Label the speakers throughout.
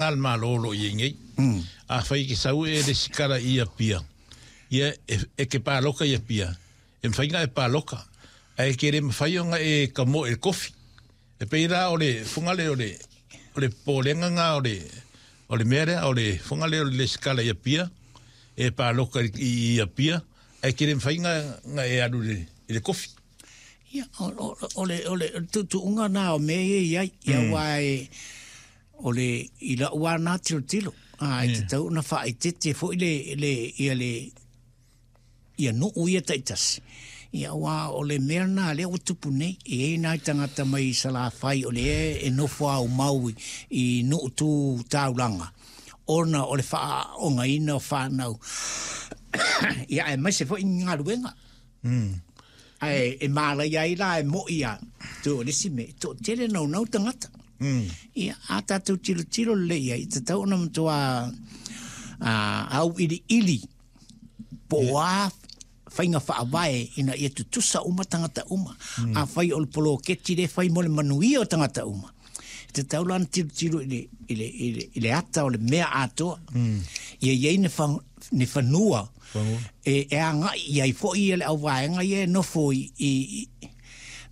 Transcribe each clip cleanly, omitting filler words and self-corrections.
Speaker 1: a le Malo o lo o i ai nei. Afai e te sau e resitala i Apia, ia e te paloka i Apia, e mafai ona e paloka, ae te le mafai ona e tamoe i le kofi. E pei la o le fogale o le o le popolega lena o le o le mea lea o le fogale o le resitala i Apia, e paloka i Apia, ae te le mafai ona e alu i le kofi.
Speaker 2: Ia, o le o le tuutuuga lena o mea ia e i ai, ia aua e O le, i la'u a na tilotilo, a, e tatau ona faaeteete foi le, le, ia le, ia nuu ia taitasi, ia aua o le mea lena lea ua tupu nei, e i ai nai tagata mai Salafai o lea e nofo aumau i nuu tu taulaga, ona o le faaaogaina o fanau, ia aemaise foi ni galuega. Ae e mālaia ai la e mo'i a, toe o le isi mea, e toatele naunau tagata. Ia, a tatou tilotilo lelei i ai, e tatau ona matua auiliili po o a faiga faavae ina ia tutusa uma tagata uma. Afai o le poloketi lea e fai mo le manuia o tagata uma, e tatau la ona tilotilo i le, i le, i le, i le ata o le mea atoa. Ia i ai ni, fa, ni fanua e, e agai i ai foi ia le auvaega ia e nofo i, i, i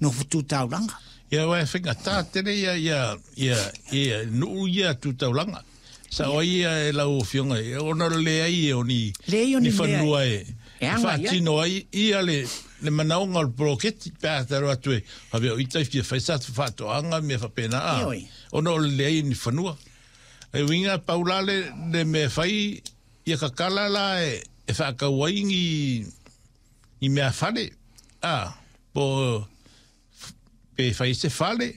Speaker 2: nofo tu taulaga.
Speaker 1: Ia aua e faigata tele ia ia ia ia nuu ia tu taulaga. Sao ai ia e lau afioga ona o le leai o ni ni fanua e faatino ai ia le le manaoga o le poloketi pe a talo atu e faapea o ita e fia fai sa faatoaga mea faapena a ona o le leai o ni fanua. E uiga pau la le le mea e fai ia kakala la e e faatau ai ni ni mea fale a po pe fai se fale.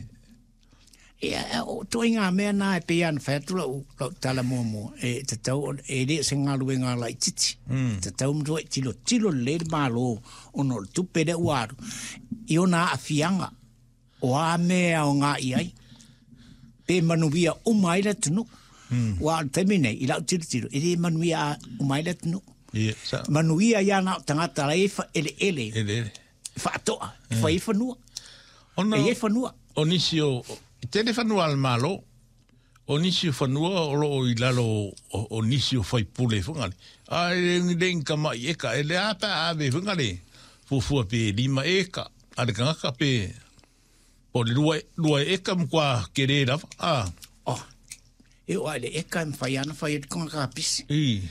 Speaker 2: Ia, o ituaiga mea na e pei lava ona fai atu lau, lau tala muamua, e tatau ona, e le o se galuega laitiiti. E tatau ona matua tilotilo lelei le Malo ona o le tupe lea ua alu i ona aafiaga o a mea e aoga i ai, pe manuia uma ai le atunuu. Aua o le taimi nei, i lau tilotilo, e le manuia uma ai le atunuu.
Speaker 1: Ia, sao.
Speaker 2: Manuia ai lava na o tagata la e i ai eleele.
Speaker 1: Eleele.
Speaker 2: Faatoa, e fai ai fanua.
Speaker 1: Ona,
Speaker 2: E i ai fanua.
Speaker 1: O nisi o, e tele fanua a le Malo, o nisi o fanua o lo o i lalo o, o nisi o faipule foi ngale. A e le le ni tamai eka, e le a pe a ave foi ngale fuafua pe 5 eka a le tagata pe po o le 2, 2 eka matua kele lava, a.
Speaker 2: Oh, e oo lava i le eka e mafai lava ona fai ai le toga kapisi.
Speaker 1: I.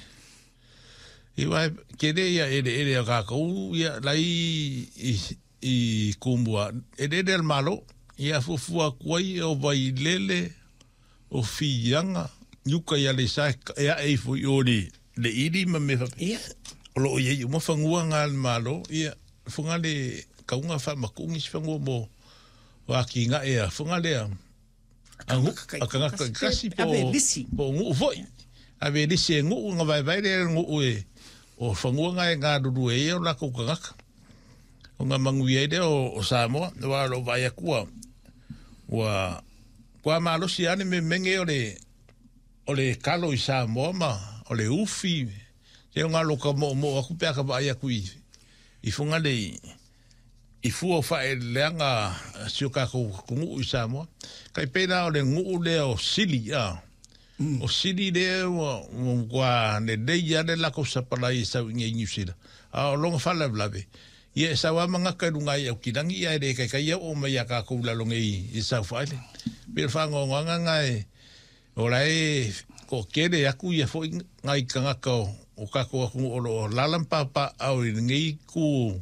Speaker 1: I wae kele ia eleele a kakou ia lai i i Kumua eleele a le Malo ia fuafua atu ai o Vailele o Fiaga i uka i Aleisa e ae ifo i o le le ili ma mea faapea.
Speaker 2: Ia.
Speaker 1: O lo o i ai uma fanua nga a le Malo ia Fogale kauga faamatuu nisi fanua mo atinae a Fogale a A tagata taitasi po o nuu foi. Ave lisi e nuu ona vaevae lea e le nuu e o fanua na e galulue ai o latou tagata. Ona manuia ai lea o Samoa, aua o lou vaai atu ua ua matua malosi lava le memege o le o le kalo i Samoa ma o le ufi. Se o galo ka moomoo atu pe a ka vaai atu i i Fugalei i fua o faaeleeleaga a si o tatou atunuu i Samoa. Tai pei la o le nuu lea o Sili, a. O Sili lea ua matua lelei lava le latou sapalai e sau i inei i Niu Sila. A o lona faalavelave, ia e sau lava magata i luga i Aukilagi ae le taitai oo mai ia tatou i lalo nei i South Island. E pei o le faanoanoaga lena e o la e toatele atu ia foi nai tagata o tatou atunuu o lo o alaala ma papaaao i lenei itu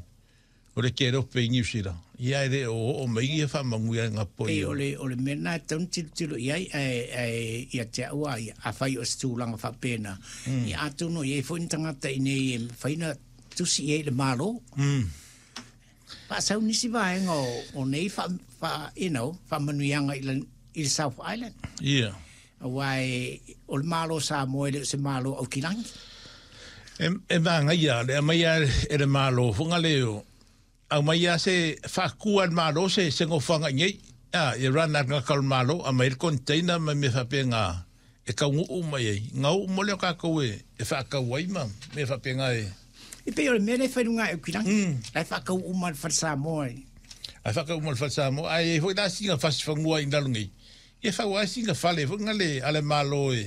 Speaker 1: o le kelope i Niu Sila, ia e le o oo mai ia faamanuiaga
Speaker 2: po Pei o le, o le mea lena e tatau ona tilotilo i ai, ae, ae ia te au lava ia, afai o se tulaga faapena, ia atonu e i ai foi ni tagata i inei e mafai ona tusi i ai i le Malo. Faasau nisi vaega o, o nei faa, faa, you know, faamanuiaga i le, i le South Island.
Speaker 1: Ia.
Speaker 2: Aua e, o le Malo o Samoa e le o se Malo Aukilagi.
Speaker 1: E, e manaia le aumaia e le Malo foga le o, aumaia se faatu a le Malo se, se nofoaga i nei. A, ia run a le tagata o le Malo, aumai le container ma mea faapena e taunuu mai ai. Na oo mo lea o tatou e, e faatau ai ma mea faapena e.
Speaker 2: E pei o le mea lea e fai i luga o Aukilagi. La e faatau uma e le Fale Samoa.
Speaker 1: A faatau uma e le Fale Samoa. Ae i ai foi la sina fasi fanua i lalo nei. Ia fau ai sina fale foi ngale ale malo e.